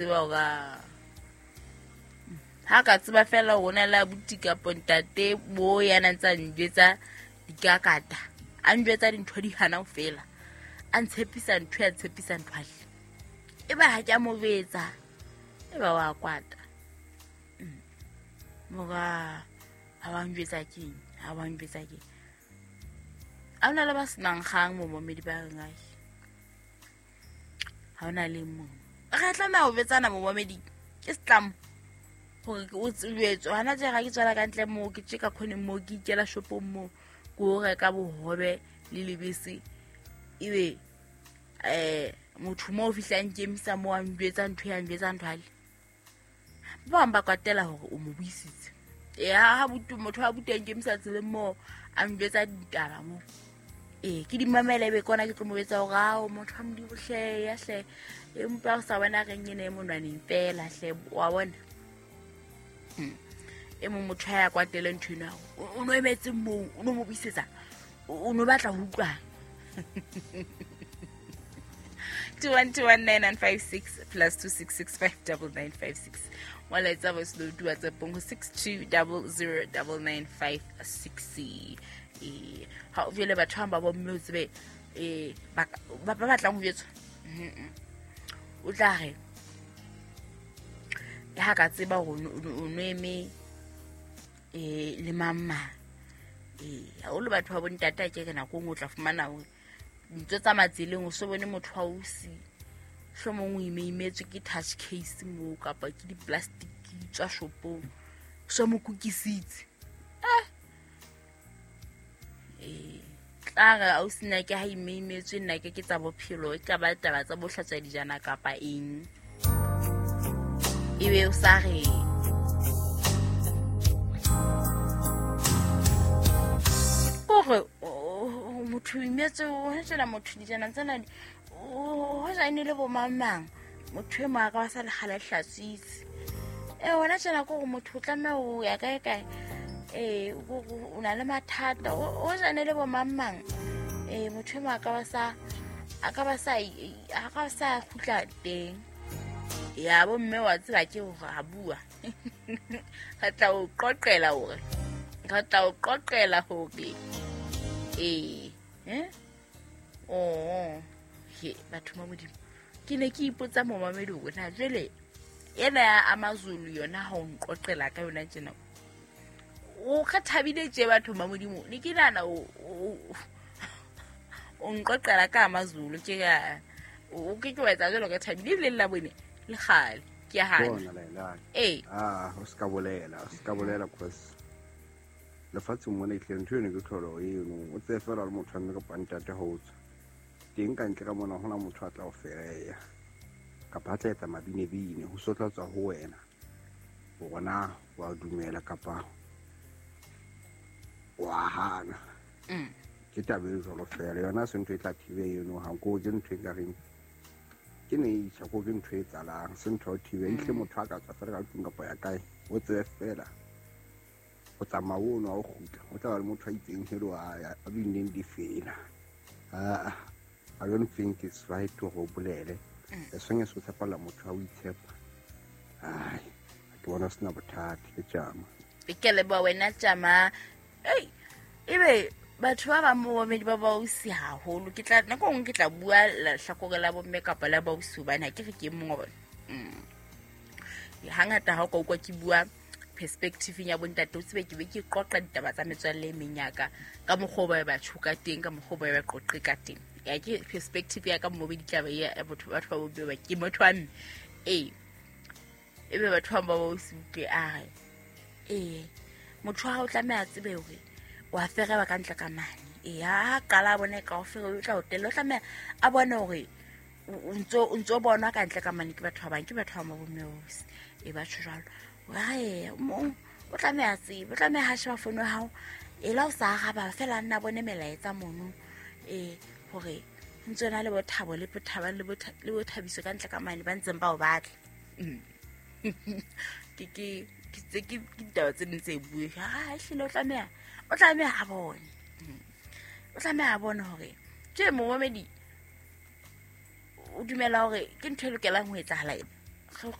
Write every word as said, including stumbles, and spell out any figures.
Tseba hore ha ka tseba fela hore o na le abuti kapa ntate bo ya na ntsa njwetsa dikakata, a njwetsa dintho di hana ho fela, a ntshepisa ntho ya tshepisa ntho ale. E ba ha ke a mo betsa, e ba wa kwata. Mora ha wa njwetsa keng, ha wa njwetsa keng. Ha hona le ba senang kgang momamedi ba reng ai. Ha hona le mong. Re tlameha ho betsana momamedi ke setlamo hore o tsebetswe. Hana tje ha ke tswela ka ntle moo, ke tje ka khoneng moo, ke ikela shopong moo, ke o reka bohobe le lebese. Ebe eh motho moo o fihlang kemisa moo a njwetsa ntho ya njwetsa ntho ale. Ba bang ba kwatela hore o mo buisitse. E ha butu motho a buteng kemisa tseleng moo a njwetsa ditaba moo. E ke di mamela ebe kona ke tlo mo betsa hore ao motho a Modimo hle ya hle empa o sa bona reng ene e monwaneng fela hle wa bona. E mong motho ya kwatele ntho ena o no emetse moo o no mo buisetsa o no batla ho utlwa. two one two one nine nine five six plus two six six five double nine five six. Molaetsa voice note WhatsApp ho six two double zero double nine five six. Eh ha o jele batho ba bo mme o tsebe eh ba ba batlang ho jetswa. O tla re ha ka tseba hore o no eme eh le mamma. Eh ha o le batho ba bontate ke ke nako nngwe o tla fumana hore ntho tsa matseleng o so bone motho wa o si hlomong o imeimetswe ke touch case moo kapa ke di-plastic tswa shopong so mo kukisitse. Eh eh tla re ausi nna ke ha imeimetswe nna ke ke tsa bophelo e ka ba taba tsa bohlatswa dijana kapa eng. Ebe o sa re kore motho imetse o tsela motho dijana tsena o ja ene le bo mamang motho e mo a ka sa le kgale hlatswitse. E wona tsena go motho o tlameha ho ya kae kae eh o na le mathata o ja ene le bo mamang eh motho e mo a ka sa a ka ba sa a ka sa khutla teng. Ya bo mme wa tseba ke hore ha bua. Re tla o qoqela hore re tla o qoqela hore eh eh oh he batho ba Modimo ke ne ke ipotsa momamedi hore na jwale ena ya Amazulu yona ha o nqoqela ka yona tjena o ka thabile tje batho ba Modimo ne ke nana o o nqoqela ka Amazulu ke ka o ke ke wa etsa jwalo ka thabile ebile la bone le kgale ke a hana eh ah o ska bolela o ska bolela cause lefatsheng mona e tle ntho eno ke tlholo eno o tseye fela le motho a mme kapa ntate ho tswa teng ka ntle ka mona hona motho a tla o fereya kapa a tla etsa mabinebine ho so tla tswa ho wena hore na wa dumela kapa wa hana. Ke taba e jwalo fela yona se ntho e tla thibe eno ha ko ke ntho e ka reng ke nature ko ke ntho e tsalang se ntho e thibe ihle motho a ka tswa fela ka tlung kapa ya kae o tseye fela o tsamaya o nwa o kgutla o tla ba le motho a itseng helo a a bineng difela. Ah I don't think it's right to go bolele as long as o tshepala motho a o itshepa. Ai ke bona sena bothata ke tjama ke leboha wena tjama. Ei ebe batho ba bang bo bomme ba bausi haholo ke tla nako nngwe ke tla bua lehlakore la bomme kapa la bausi hobane ha ke re ke mong wa bona. Hangata ha o ka utlwa ke bua perspective ya bontate o tsebe ke be ke qoqa ditaba tsa metswalle e meng ya ka ka mokgwa o ba ba tshoka teng ka mokgwa o ba ba qoqe ka teng. Ya ke perspective ya ka mo be ditaba ya batho batho ba bomme ba ke motho wa mme. Eh ebe batho ba ba bausi utlwe a re eh motho wa hao tlameha a tsebe hore wa fereba ka ntle ka mane. E ha qala bone ka o fere o tla o tella o tlameha a bone hore o ntso o ntso bonwa ka ntle ka mane ke batho ba bang ke batho ba bomme bausi e ba tjho jwalo. Wa mo o tlameha tsebe o tlameha ha sheba fono ya hao e la o sa araba fela nna bone melaetsa mono eh hore ntse na le bothabo le bothaba le le bothabiso ka ntle ka mane ba ntseng ba o batla. Ke ke ke tse ke ditaba tse ding tse bue ha ehlile o tlameha o tlameha a bone o tlameha a bone hore tje momamedi o dumela hore ke ntho e lokelang ho etsahala ena. Re